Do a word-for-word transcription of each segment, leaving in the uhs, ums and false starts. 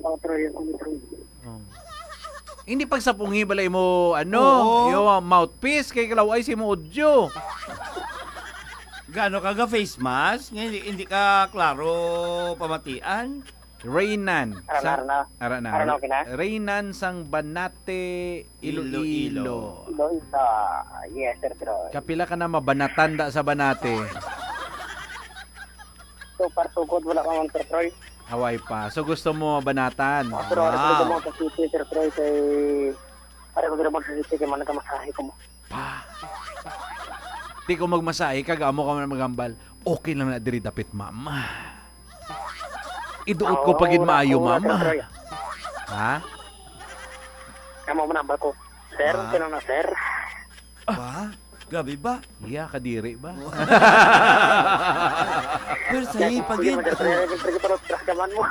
Otro yung otro. Oh. Hindi pagsapungi bala imo, ano, Oo. yung, ah, mouthpiece kay kalaw-ay sa imo audio. Gaano ka ga face mask? Nga hindi, hindi ka klaro pamatian? Reynan. Ara na, Sa, ara na. ara na. Ara na, okay na? Reynan sang Banate, Iloilo. Iloilo. Doon sa, yes, Sir Troy. Kapila ka na mabanatan da sa Banate? So far, so good. Wala ka man, Sir Troy. Away pa. So gusto mo mabanatan? Pero ano Wow. ko mo sa city, Sir Troy, kay, ano ko mo sa city, kay man nagkamasahe ko mo. Pa. Di ko magmasahe, kag amo ka man maghambal. Okay lang na diri dapit, ma'am. Iduot ko Oo, pa gid wala maayo, ko, ma'am. Sir Troy. Ha? Amo man ang ko. Sir, Ah. sino na, sir? Ba? Grabe ba? Iya, kadiri ba? Pero sahi pa gid. Sir, sir, sir, sir, sir, sir, mo.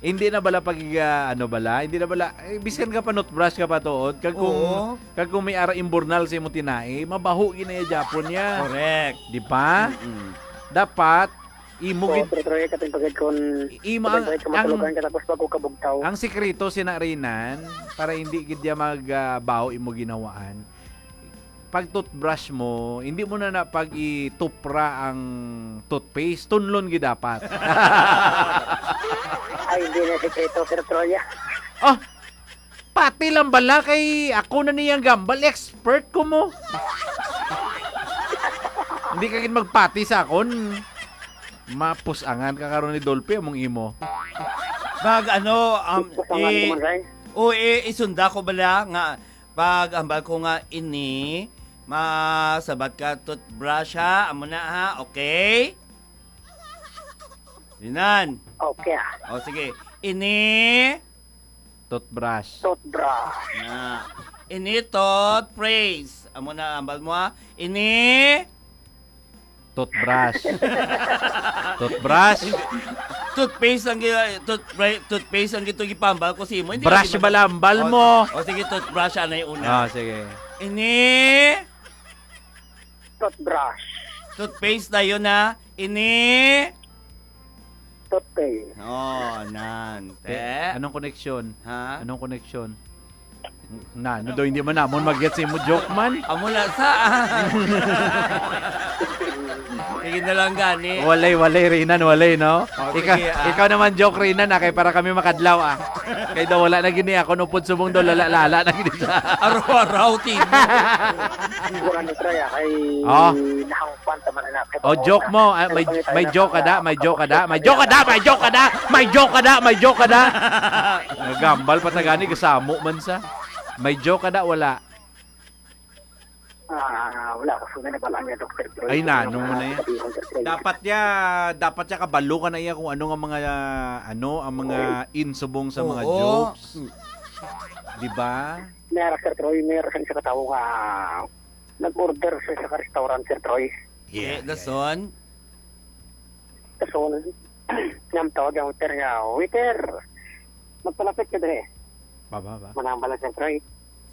Hindi na bala pag, ah, ano bala, hindi na bala, eh, bisan ka pa toothbrush ka pa tuod, kag kung, Oo. kag kung may ara imbornal sa imo tinai, mabaho gid na iya Japon niya. Correct. Di ba? Mm-mm. Dapat, imo So, gid, pero, pero, kating pagid kun, imo ang, kating pagid kun ang, matulugan ka tapos bago ka bugtaw. Ang sikreto sina Rinan, para hindi gid niya mag, ah, baho imo ginawaan. Pag toothbrush mo, hindi mo na na pag itupra ang toothpaste, tunlon gid dapat. Ay, hindi na sikreto, Sir Troy. Ah, pati lang bala kay ako na niyang gambal, expert ko mo. Hindi ka gid magpati sa akon. Mapusangan ka karon ni Dolphy among imo. Mag ano, um, Pusangan i-, ko man, Ray. o i-, isunda ko bala nga pag hambal ko nga ini, masabat ka toothbrush ha, amo na ha, okay? Rinan. Okay, ah. O, sige. Ini. Toothbrush. Toothbrush. Na. Ini toothpaste. Amo na, hambal mo, ha? Ini. Toothbrush. Toothbrush. Toothpaste ang gi-, toothbra-, toothpaste ang gito gipambal ko sa imo. Hindi Brush lagi ba lambal O, mo? o, sige, toothbrush, anay una. Ah, sige. Ini. Toothbrush. Toothpaste na yun, ha? Ini. Toothpaste. Oh, nan. Eh, Te. anong koneksyon? Ha? Anong koneksyon? Na, ano daw, hindi man namon mag-gets imo joke man? Amo na sa. Sige na lang gani. Walay, walay, Rinan, walay, no? Oh, Ika-, sige, ah. ikaw naman joke, Rinan, ah, kay para kami makadlaw, ah. Kay daw wala na gini ako, nupod subong daw lala-lala na gini sa Araw-araw, tino. Wala ni Troy, ah, kay Oh. nahangpan ta man anak. Oh, joke mo. Ah, may, may joke ka da, may joke ka da, may joke ka da, may joke ka da, may joke ka da, may joke ka da. Nagambal pa ta gani, kasamo man sa. May joke ka da, wala. Ah, wala ko sila na bala niya, Doktor Troy. Ay, Ano nanong mo nga na yan? sabihin, Doktor Troy? Dapat niya, dapat niya kabalo ka na iya kung ano nga mga, ah, ano, ang mga Oo. insubong sa mga Oo. jokes. Mm. Di ba? May ara, Sir Troy, may ara sa isa ka tawo nga nag-order sa isa ka restaurant, Sir Troy. Yeah, Eh, yeah. dason? Dason, niyam tawag ang waiter niya, "Waiter, magpalapit ka dire." Baba, ba? Manambal lang, Sir Troy.